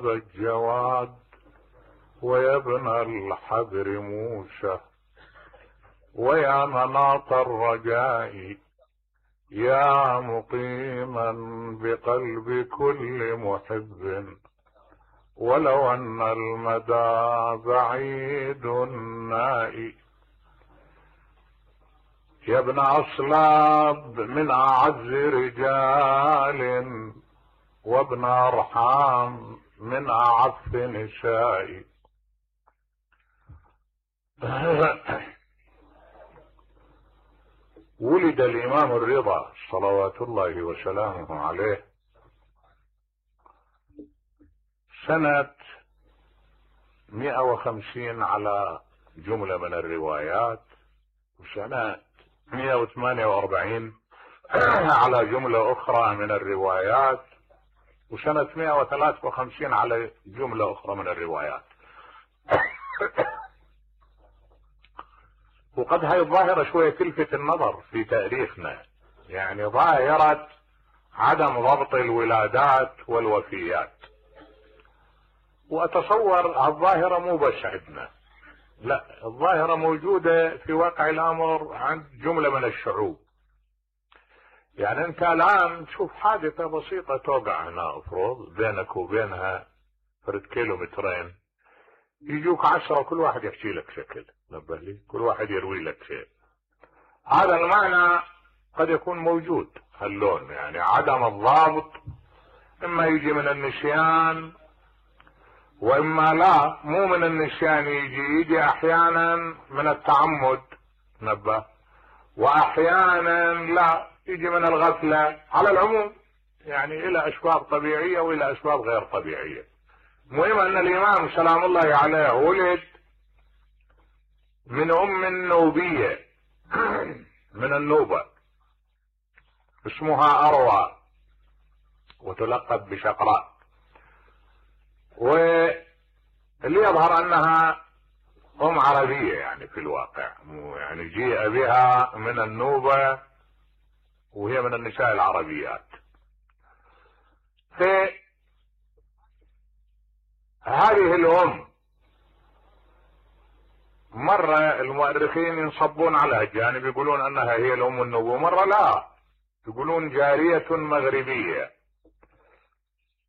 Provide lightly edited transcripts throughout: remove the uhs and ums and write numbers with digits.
الجواد ويا ابن الحبر موسى ويا مناط الرجاء يا مقيما بقلب كل محب ولو ان المدى بعيد نائي يا ابن اصلاب من اعز رجال وابن ارحام من اعف نساء. ولد الامام الرضا صلوات الله وسلامه عليه سنة 150 على جملة من الروايات، وسنة 148 على جملة اخرى من الروايات، وسنة 153 على جملة اخرى من الروايات. وقد هاي الظاهرة شوية تلفت النظر في تاريخنا، يعني ظاهرة عدم ضبط الولادات والوفيات. واتصور الظاهرة مو بس عندنا، لا، الظاهرة موجودة في واقع الامر عند جملة من الشعوب. يعني انت الان تشوف حادثة بسيطة توقع هنا افرض بينك وبينها فرد كيلومترين، يجوك 10 كل واحد يحكي لك شكل، نبه لي، كل واحد يروي لك شيء. هذا المعنى قد يكون موجود، هاللون يعني عدم الضابط، اما يجي من النسيان واما لا، مو من النسيان، يجي احيانا من التعمد، نبه، واحيانا لا، يجي من الغفلة. على العموم يعني الى اسباب طبيعية والى اسباب غير طبيعية. المهم ان الامام سلام الله عليه ولد من نوبية من النوبة اسمها اروى وتلقب بشقراء، واللي يظهر انها عربية يعني في الواقع، يعني جيء بها من النوبة وهي من النساء العربيات. هذه الام مرة المؤرخين ينصبون على الجانب، يقولون انها هي الام النوبة، مرة لا، يقولون جارية مغربية.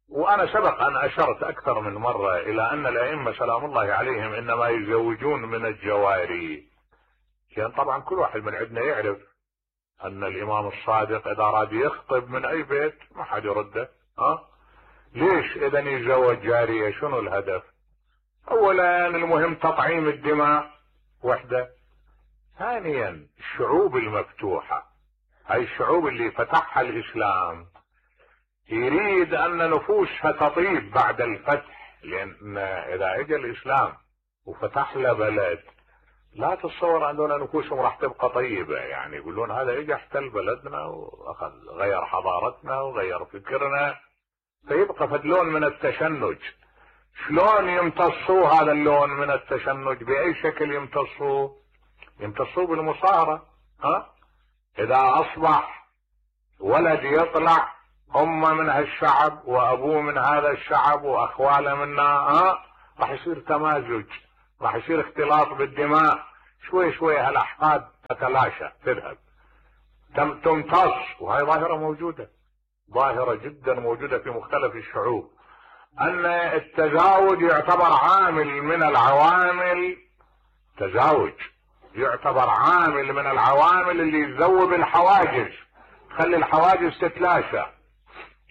وانا سبق ان اشرت اكثر من مرة الى ان الائمة سلام الله عليهم انما يزوجون من الجواري، لان طبعا كل واحد من عندنا يعرف ان الامام الصادق اذا اراد يخطب من اي بيت ما حد يرده. ليش اذا يتزوج جارية؟ شنو الهدف؟ اولا المهم تطعيم الدماء وحده، ثانيا الشعوب المفتوحة، هاي الشعوب اللي فتحها الاسلام يريد ان نفوسها تطيب بعد الفتح، لان اذا اجى الاسلام وفتح له بلد لا تتصور ان نفوسهم راح تبقى طيبة. يعني يقولون هذا اجى احتل بلدنا واخذ غير حضارتنا وغير فكرنا، فيبقى فدلون من التشنج. شلون يمتصوا هذا اللون من التشنج؟ باي شكل يمتصوا؟ يمتصوا بالمصاهرة. اذا اصبح ولد يطلع امه من هالشعب وابوه من هذا الشعب واخواله منا، راح يصير تمازج، راح يصير اختلاط بالدماء، شوي شوي هالاحقاد تتلاشى تذهب تمتص. وهي ظاهرة موجودة، ظاهرة جدا موجودة في مختلف الشعوب، ان التزاوج يعتبر عامل من العوامل، تزاوج يعتبر عامل من العوامل اللي يذوب الحواجز، تخلي الحواجز تتلاشى.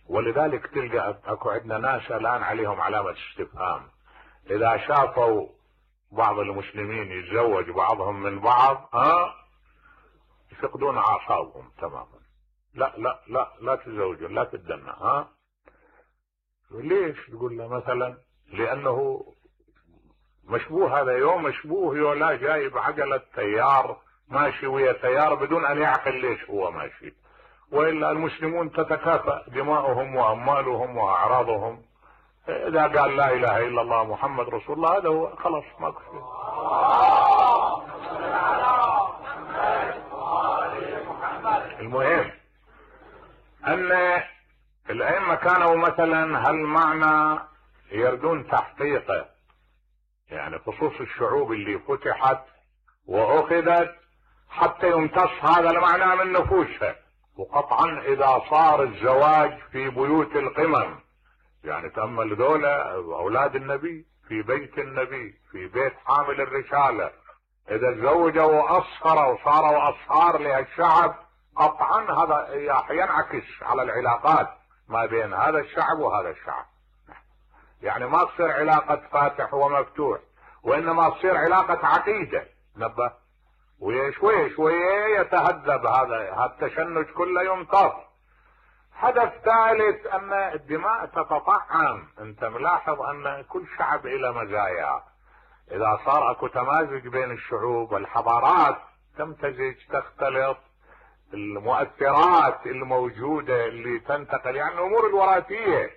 ولذلك تلقى اكو عندنا ناس الان عليهم علامة استفهام اذا شافوا بعض المسلمين يتزوج بعضهم من بعض، يفقدون اعصابهم تماما. لا لا لا لا تتزوجوا، لا تتدنى. ليش؟ تقول له مثلا لانه مشبوه، هذا يوم مشبوه، يولا جايب عجلة تيار ماشي ويا تيار بدون ان يعقل ليش هو ماشي. والا المسلمون تتكافأ دماؤهم واموالهم واعراضهم، اذا قال لا اله الا الله محمد رسول الله هذا هو، خلاص ماكو شيء. المهم ان الائمة كانوا مثلا هالمعنى يردون تحقيقه، يعني خصوص الشعوب اللي فتحت واخذت حتى يمتص هذا المعنى من نفوسها. وقطعا اذا صار الزواج في بيوت القمم، يعني تأمل ذولا اولاد النبي في بيت النبي في بيت حامل الرسالة، اذا تزوجوا واصهروا وصاروا اصهار لهالشعب، قطعا هذا ينعكس على العلاقات ما بين هذا الشعب وهذا الشعب. يعني ما تصير علاقة فاتح ومفتوح، وانما تصير علاقة عقيدة. نبه، وشوي شوي يتهذب هذا التشنج كله يمتص. حدث ثالث ان الدماء تتطعم. انت ملاحظ ان كل شعب الى مزايا. اذا صار اكو تمازج بين الشعوب والحضارات تمتزج تختلط، المؤثرات الموجودة اللي تنتقل، يعني الامور الوراثية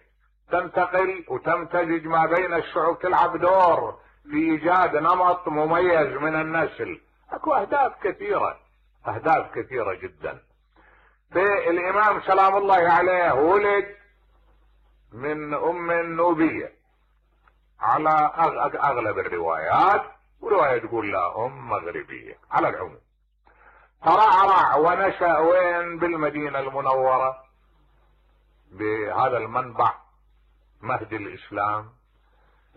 تنتقل وتمتزج ما بين الشعوب، تلعب دور في ايجاد نمط مميز من النسل. اكو اهداف كثيرة جدا. فالامام سلام الله عليه ولد من ام نوبية على اغلب الروايات، ورواية تقول لا ام مغربية على العموم. ترعرع ونشأ وين؟ بالمدينة المنورة، بهذا المنبع مهد الاسلام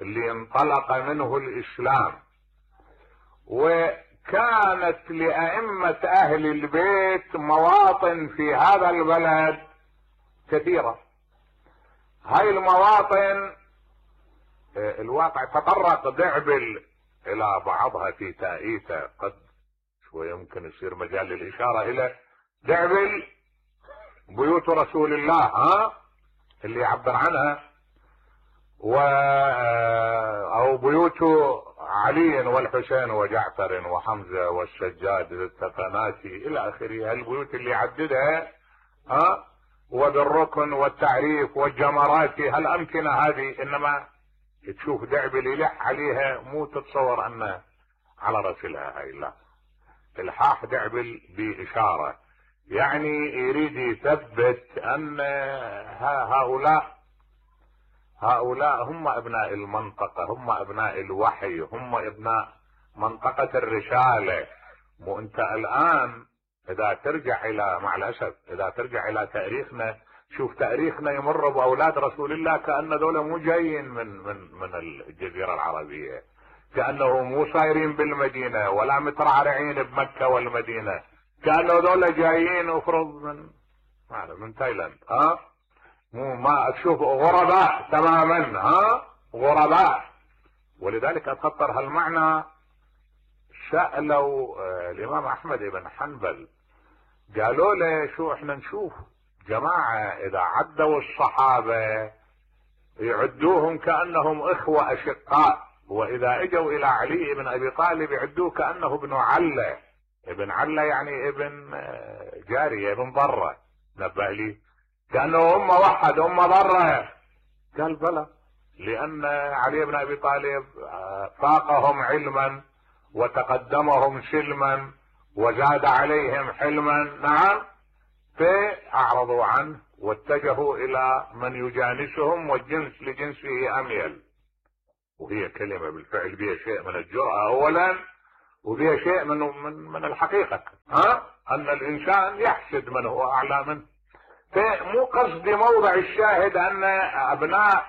اللي انطلق منه الاسلام. وكانت لأئمة اهل البيت مواطن في هذا البلد كثيرة. هاي المواطن الواقع تطرق دعبل الى بعضها في تأييته، قد شوي يمكن يصير مجال للاشارة الى دعبل بيوت رسول الله اللي يعبر عنها، او بيوت علي والحسين وجعفر وحمزة والسجاد التفناتي الى اخره. البيوت اللي عددها وبالركن والتعريف والجمرات، هالامكنة هذه، انما تشوف دعبل يلح عليها مو تتصور ان على رسلها هاي، لا، الحاح دعبل باشارة، يعني يريد يثبت ان هؤلاء هم ابناء المنطقة، هم ابناء الوحي، هم ابناء منطقة الرسالة. مو انت الان اذا ترجع الى، مع الاسف اذا ترجع الى تاريخنا، شوف تاريخنا يمر باولاد رسول الله كأن ذولا مو جايين من الجزيرة العربية، كأنه مو صايرين بالمدينة ولا مترعرعين بمكة والمدينة، كأنه ذولا جايين افرض من تايلاند. مو ما تشوف غرباء تماما، غرباء. ولذلك اتخطر هالمعنى. سألوا الامام احمد بن حنبل، قالوا له شو احنا نشوف جماعة اذا عدوا الصحابة يعدوهم كأنهم اخوة اشقاء، واذا اجوا الى علي بن ابي طالب يعدوه كأنه ابن علة. ابن علة يعني ابن جارية، ابن ضرة. نبه لي كأنه هم وحد هم ضرة. قال بلى، لان علي بن ابي طالب فاقهم علما وتقدمهم سلما وزاد عليهم حلما. نعم، فاعرضوا عنه واتجهوا الى من يجانسهم، والجنس لجنسه اميل. وهي كلمة بالفعل بها شيء من الجرأة اولا، وبها شيء من الحقيقة، ان الانسان يحسد من هو اعلى منه. فمو قصدي موضع الشاهد ان ابناء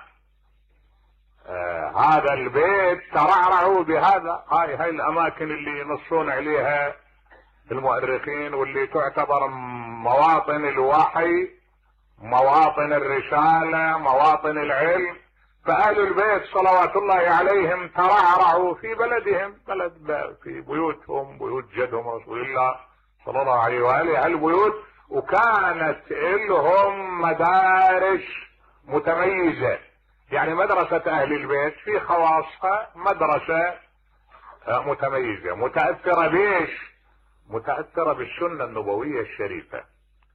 هذا البيت ترعرعوا بهذا. هاي الاماكن اللي ينصون عليها المؤرخين، واللي تعتبر مواطن الوحي، مواطن الرسالة، مواطن العلم. فأهل البيت صلوات الله عليهم ترعرعوا في بلدهم، في بيوتهم، بيوت جدهم رسول الله صلى الله عليه وآله، هالبيوت. وكانت لهم مدارس متميزة، يعني مدرسة اهل البيت في خواصها مدرسة متميزة، متأثرة بيش؟ متأثرة بالسنة النبوية الشريفة.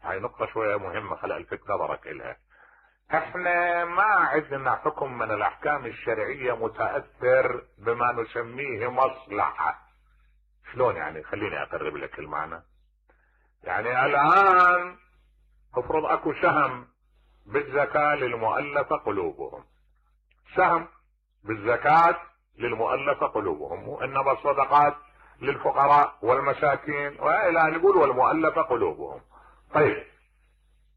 هاي نقطة شوية مهمة، خلق الفت نظرك إلها. احنا ما عندنا حكم من الاحكام الشرعية متأثر بما نسميه مصلحة. شلون يعني؟ خليني اقرب لك المعنى. يعني الان افرض اكو سهم بالزكاة للمؤلفة قلوبهم، سهم بالزكاة للمؤلفة قلوبهم، وإنما الصدقات للفقراء والمساكين، وإلى نقول والمؤلفة قلوبهم. طيب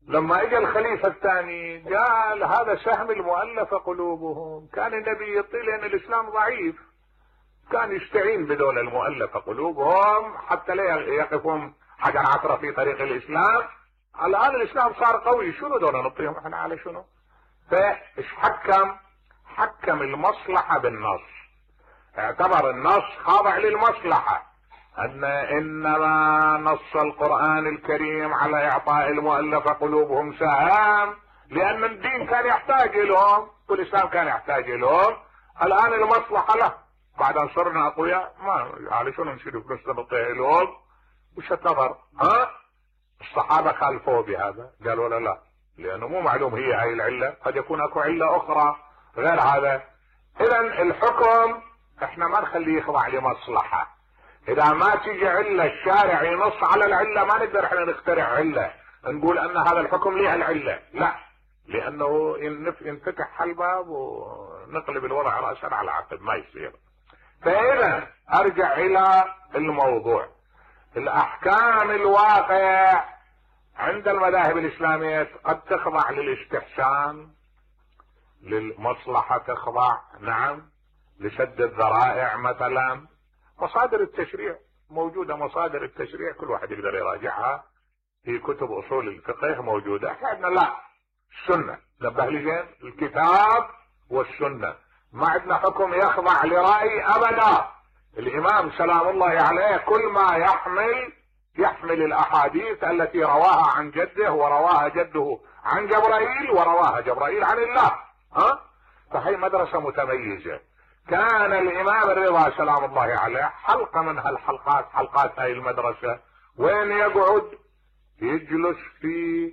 لما اجى الخليفة الثاني قال هذا سهم المؤلفة قلوبهم، كان النبي يطيل لأن الإسلام ضعيف، كان يستعين بدول المؤلفة قلوبهم حتى لا يقفون حجر عثرة في طريق الإسلام. الآن الإسلام صار قوي، شنو دول نطيهم احنا على شنو؟ فايش حكم المصلحة بالنص، اعتبر النص خاضع للمصلحة، ان انما نص القرآن الكريم على اعطاء المؤلفة قلوبهم سهام لان الدين كان يحتاج لهم والاسلام كان يحتاج لهم. الان المصلحة له، بعد ان صرنا اقوياء ما على شنو نشيل فلوس نعطيها لهم؟ وش النظر؟ الصحابة خالفوه بهذا، قالوا لا لانه مو معلوم هي هاي العلة، قد يكون اكو علة اخرى غير هذا. اذا الحكم احنا ما نخليه يخضع لمصلحة. اذا ما تيجي علة الشارع ينص على العلة ما نقدر احنا نخترع علة نقول ان هذا الحكم ليه العلة، لا، لانه ينفتح الباب ونقلب الوضع رأسا على عقب، ما يصير. فاذا ارجع الى الموضوع، الاحكام الواقع عند المذاهب الاسلامية قد تخضع للاستحسان، للمصلحة تخضع، نعم، لسد الذرائع مثلا. مصادر التشريع موجودة، مصادر التشريع كل واحد يقدر يراجعها في كتب اصول الفقه موجودة. احنا عندنا لا، السنة، نبه لي زين، الكتاب والسنة، ما عندنا حكم يخضع لرأي ابدا. الامام سلام الله عليه كل ما يحمل الاحاديث التي رواها عن جده ورواها جده عن جبرائيل ورواها جبرائيل عن الله. فهي مدرسة متميزة. كان الامام الرضا سلام الله عليه حلقة من هالحلقات، حلقات هاي المدرسة، وين يقعد؟ يجلس في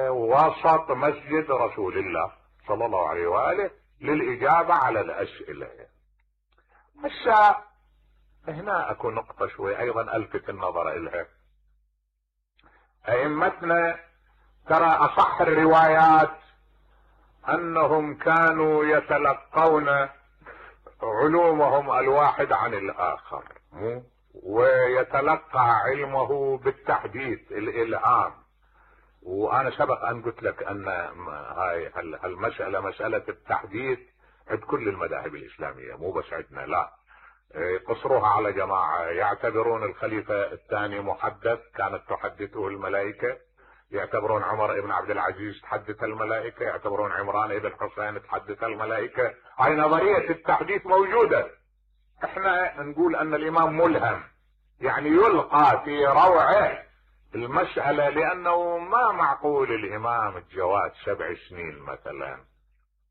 وسط مسجد رسول الله صلى الله عليه وآله للإجابة على الأسئلة. هسه هنا اكو نقطة شوي ايضا الفت النظر الها. ائمتنا ترى اصح الروايات انهم كانوا يتلقون علومهم الواحد عن الاخر، ويتلقى علمه بالتحديث، الالهام. وانا سبق ان قلت لك ان هاي المسألة مسألة التحديث عند كل المذاهب الاسلامية، مو بس عندنا، لا، قصروها على جماعة. يعتبرون الخليفة الثاني محدث، كانت تحدثه الملائكة، يعتبرون عمر ابن عبد العزيز تحدث الملائكة، يعتبرون عمران ابن حسين تحدث الملائكة. هاي نظرية التحديث موجودة. احنا نقول ان الامام ملهم، يعني يلقى في روعه المسألة، لانه ما معقول الامام الجواد 7 سنين مثلا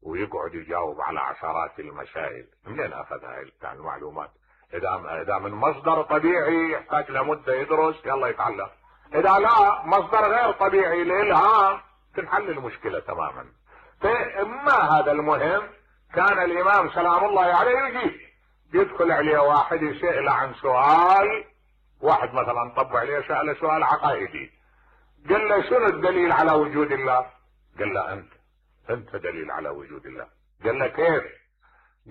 ويقعد يجاوب على عشرات المسائل. منين اخذ هاي المعلومات؟ اذا من مصدر طبيعي يحتاج لمدة يدرس يلا يتعلم، اذا لا مصدر غير طبيعي الالهام تنحل المشكلة تماما. فما هذا المهم، كان الامام سلام الله عليه يجي يدخل عليه واحد يسأل عن سؤال، واحد مثلا طب عليه سأله سؤال عقائدي، قال له شنو الدليل على وجود الله؟ قال له انت دليل على وجود الله. قال له كيف؟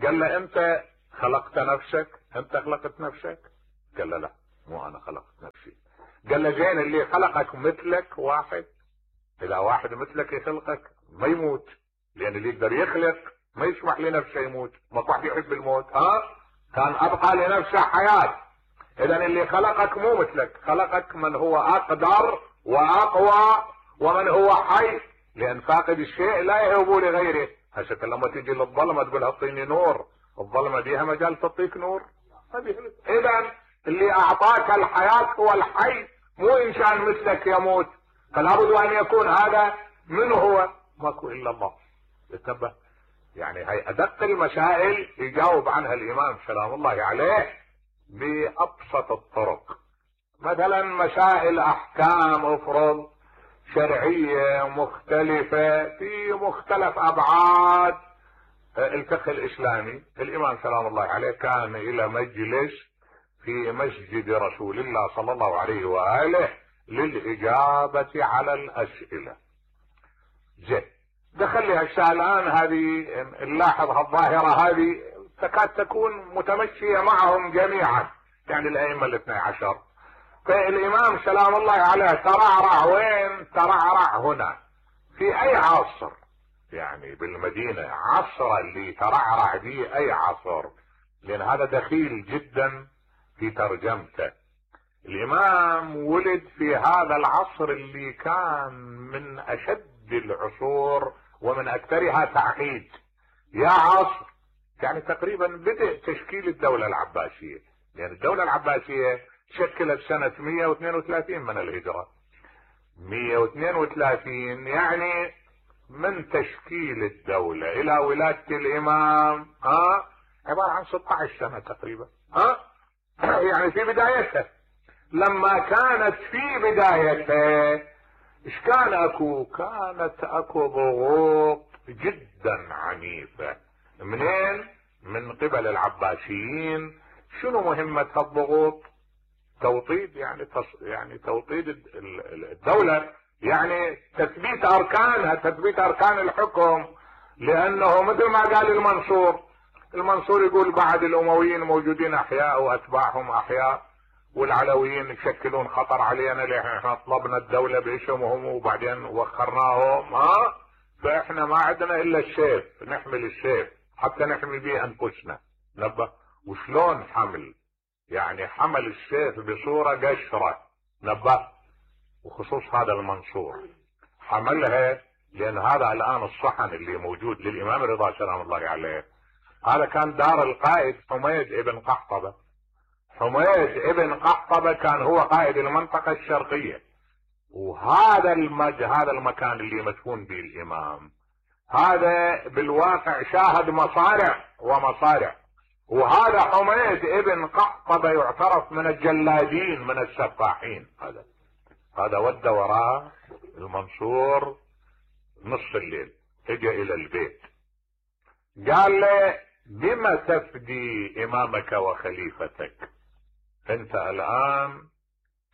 قال له انت خلقت نفسك؟ انت خلقت نفسك؟ قال له لا، مو انا خلقت نفسي. قال له زين اللي خلقك مثلك واحد؟ اذا واحد مثلك يخلقك ما يموت، لان اللي يقدر يخلق ما يسمح لنفسه يموت، ما واحد يحب الموت، كان ابقى لنفسه حياة. اذا اللي خلقك مو مثلك، خلقك من هو اقدر واقوى ومن هو حي، لان فاقد الشيء لا يهب لغيره. هسه لما تجي للظلمه تقول اعطيني نور، الظلمه بيها مجال تعطيك نور؟ اذا اللي اعطاك الحياه هو الحي، مو انسان مثلك يموت. فلا بد ان يكون هذا من هو؟ ماكو الا الله. انتبه، يعني هي ادق المسائل يجاوب عنها الامام سلام الله عليه بابسط الطرق. مثلا مسائل احكام افرض شرعية مختلفة في مختلف ابعاد الفقه الاسلامي، الامام سلام الله عليه كان الى مجلس في مسجد رسول الله صلى الله عليه وآله للاجابة على الاسئلة. زين، دخل لي هالشيء الان، هذه نلاحظ هالظاهرة هذه تكاد تكون متمشية معهم جميعا، يعني الائمة الاثني عشر. فالامام سلام الله عليه ترعرع وين؟ ترعرع هنا. في اي عصر؟ يعني بالمدينة، عصر اللي ترعرع به اي عصر؟ لان هذا دخيل جدا في ترجمته. الامام ولد في هذا العصر اللي كان من اشد العصور ومن اكثرها تعقيد. يا عصر يعني تقريبا بدء تشكيل الدولة العباسية، لان يعني الدولة العباسية شكلت سنة 132 من الهجرة. 132 يعني من تشكيل الدولة الى ولادة الامام عبارة عن 16 سنة تقريبا. يعني في بدايتها، لما كانت في بدايتها ايش كان اكو؟ كانت اكو ضغوط جدا عنيفة. منين؟ من قبل العباسيين. شنو مهمة هالضغوط؟ توطيد، يعني توطيد الدولة، يعني تثبيت اركانها، تثبيت اركان الحكم. لانه مثل ما قال المنصور يقول بعد الامويين موجودين احياء واتباعهم احياء، والعلويين يشكلون خطر علينا لان احنا طلبنا الدولة باسمهم وبعدين وخرناهم. فاحنا ما عندنا الا السيف، نحمل السيف حتى نحمي به انفسنا. نبه وشلون حمل؟ يعني حمل السيف بصورة قشرة. نبه وخصوص هذا المنصور حملها، لان هذا الان الصحن اللي موجود للامام رضا سلام الله عليه، هذا كان دار القائد حميد ابن قحطبة. حميد ابن قحطبة كان هو قائد المنطقة الشرقية، وهذا هذا المكان اللي مدفون به الامام، هذا بالواقع شاهد مصارع ومصارع. وهذا حميد ابن قحطبة يعترف من الجلادين، من السفاحين. هذا ودى وراء المنصور نص الليل، اجى الى البيت قال له بما تفدي امامك وخليفتك؟ انت الان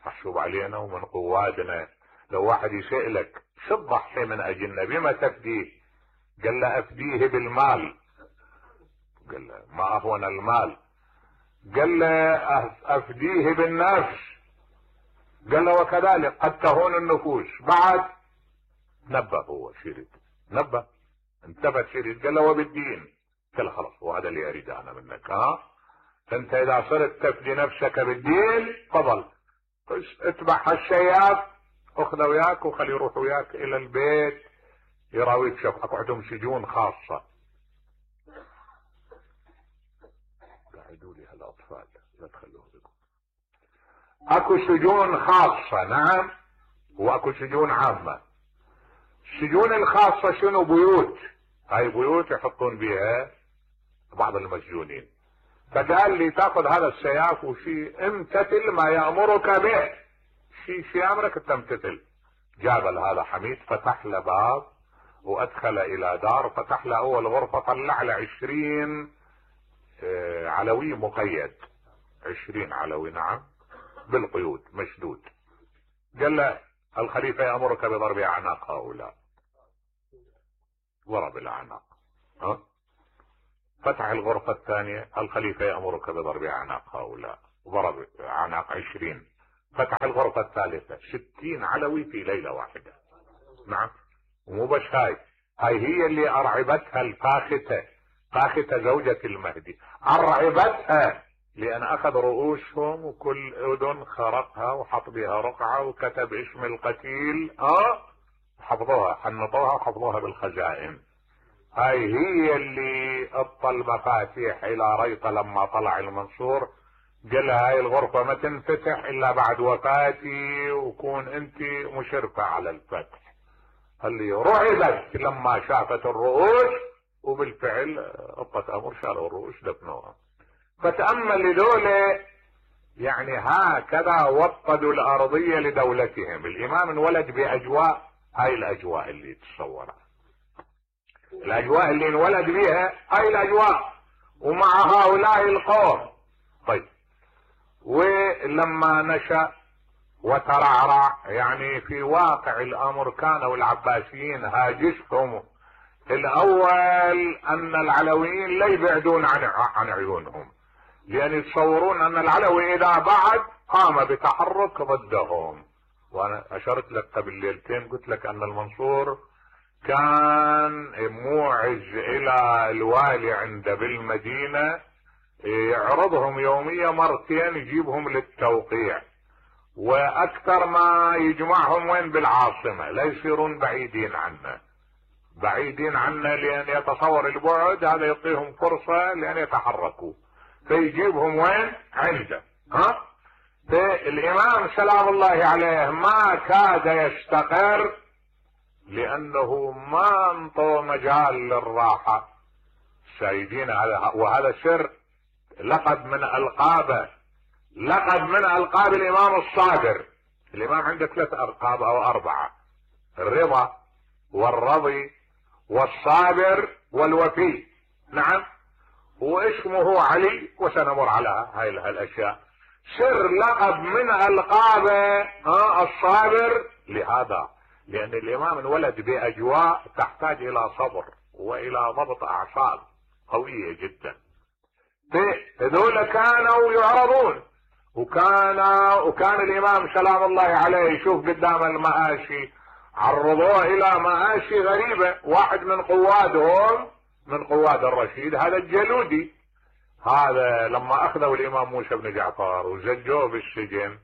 محسوب علينا ومن قوادنا، لو واحد يسألك شو تضحي من اجلنا بما تفديه؟ قال له افديه بالمال. قال له ما اهون المال. قال له افديه بالنفس. قال له وكذلك قد تهون النفوس. بعد نبه، هو شريد نبه، انتبه شريد. قال له وبالدين. قال له خلاص وهذا اللي اريد انا منك. انت اذا صرت تفدي نفسك بالدين تفضل اتبع هالشياب، اخذه وياك وخليه يروح وياك الى البيت يراويك. شوف اكو عندهم سجون خاصة. قاعدوا لي هالاطفال لا تخلوهم بكم. اكو سجون خاصة، نعم، واكو سجون عامة. السجون الخاصة شنو؟ بيوت. هاي بيوت يحطون بها بعض المسجونين. فقال لي تاخذ هذا السياف وشي امتثل ما يأمرك به، شي امرك تمتثل. جاب هذا حميد، فتح له باب وادخل الى دار، فتح له اول غرفة، طلع له 20 علوي مقيد، 20 علوي، نعم، بالقيود مشدود. قال له الخليفة يأمرك بضرب اعناق هؤلاء. ضرب الاعناق. فتح الغرفة الثانية، الخليفة يأمرك بضرب اعناق هؤلاء. ضرب اعناق 20. فتح الغرفة الثالثة، 60 علوي في ليلة واحدة. نعم. ومو بس هاي هي اللي ارعبتها الفاختة، فاختة زوجة المهدي، ارعبتها لان اخذ رؤوسهم وكل اذن خرقها وحط بها رقعة وكتب اسم القتيل. حفظوها، حنطوها وحفظوها بالخزائن. هاي هي اللي اعطى المفاتيح الى ريطة لما طلع المنصور. قال هاي الغرفة ما تنفتح الا بعد وفاتي، وكون انت مشرفة على الفتح. اللي رعبت لما شافت الرؤوس، وبالفعل اعطت امر شالوا الرؤوس دفنوها. فتأمل لدولة يعني هكذا وطدوا الارضية لدولتهم. الامام انولد باجواء، هاي الاجواء اللي تصورها، الاجواء اللي انولد بها، هاي الاجواء، ومع هؤلاء القوم. طيب، ولما نشأ وترعرع، يعني في واقع الامر كانوا العباسيين هاجسهم الاول ان العلويين لا يبعدون عن عيونهم، لان يتصورون ان العلوي اذا بعد قام بتحرك ضدهم. وانا اشرت لك قبل ليلتين قلت لك ان المنصور كان موعز الى الوالي عنده بالمدينة، يعرضهم يوميا مرتين يجيبهم للتوقيع، واكثر ما يجمعهم وين؟ بالعاصمة، لا يصيرون بعيدين عنه. بعيدين عنه لان يتصور البعد هذا يعطيهم فرصة لان يتحركوا، فيجيبهم وين؟ عنده. فالامام سلام الله عليه ما كاد يستقر لانه ما انطوا مجال للراحة. سيدين وهذا سر لقب من القاب الامام الصابر. الامام عنده 3 القاب او 4: الرضا والرضي والصابر والوفي. نعم، واسمه علي، وسنمر على هاي الاشياء. سر لقب من القاب الصابر لهذا، لان الامام انولد باجواء تحتاج الى صبر والى ضبط اعصاب قوية جدا. هذول كانوا يعرضون، وكان الامام سلام الله عليه يشوف قدام المآشي، عرضوه الى مآشي غريبة. واحد من قوادهم، من قواد الرشيد، هذا الجلودي، هذا لما اخذوا الامام موسى بن جعفر وزجوه بالسجن،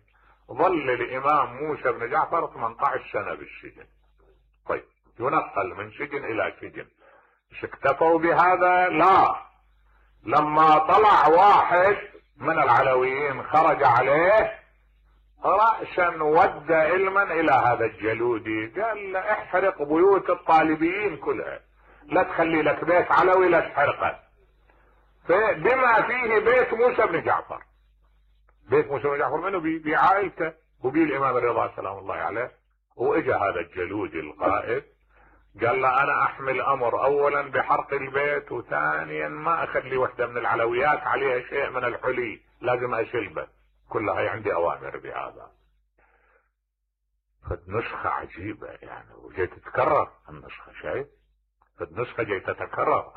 ظل الامام موسى بن جعفر 18 سنة بالسجن. طيب، ينقل من سجن الى سجن. مش اكتفوا بهذا؟ لا، لما طلع واحد من العلويين خرج عليه رأسا ود علما الى هذا الجلودي، قال له احرق بيوت الطالبيين كلها، لا تخلي لك بيت علوي لا تحرقه، بما فيه بيت موسى بن جعفر. بيت موسى بن جعفر منه؟ بعائلته وبي الامام الرضا سلام الله عليه. واجا هذا الجلودي القائد قال له انا احمل امر اولا بحرق البيت، وثانيا ما اخلي وحده من العلويات عليها شيء من الحلي، لازم اشلبه، كلها عندي اوامر بهذا. فالنسخة عجيبة يعني، وجاي تتكرر النسخة، شايف؟ فالنسخة جاي تتكرر،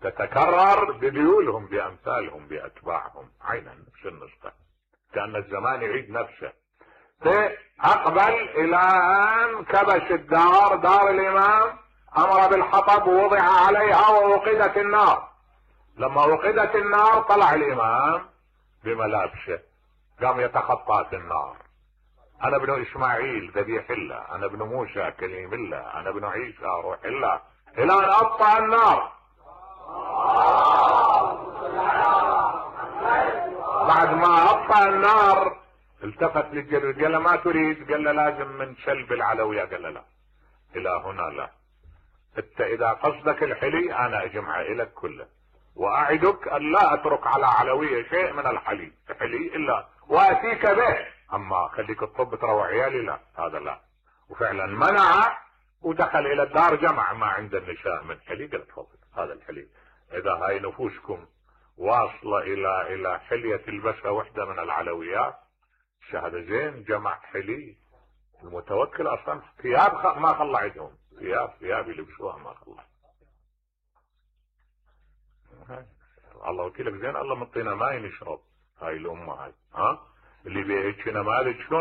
تتكرر بذيولهم بامثالهم باتباعهم، عينا نفس النسخة، كأن الزمان يعيد نفسه. فاقبل الى ان كبش الدار، دار الامام، امر بالحطب ووضع عليها ووقدت النار. لما وقدت النار طلع الامام بملابسه، قام يتخطى في النار: انا ابن اسماعيل ذبيح الله، انا ابن موسى كليم الله، انا ابن عيسى روح الله، الى ان اطفأ النار. بعد ما اطفأ النار التفت للجلود قال له ما تريد؟ قال له لازم من سلب العلوية. قال له لا، الى هنا لا، انت اذا قصدك الحلي انا اجمع لك كله، واعدك ان لا اترك على علوية شيء من الحلي الا واتيك به، اما خليك الطب تروع عيالي لا، هذا لا. وفعلا منع، ودخل الى الدار جمع ما عند النساء من حلي، قال تفضل هذا الحلي، اذا هاي نفوسكم واصلة الى حلية تلبسها وحدة من العلويات شهادة زين، جمع حلي. المتوكل اصلا ثياب ما خلى عندهم، ثياب يلبسوها ما خلى. الله وكيلك زين، الله مطينا ماي نشرب، هاي الامه هاي اللي بيهيك نماذج شلون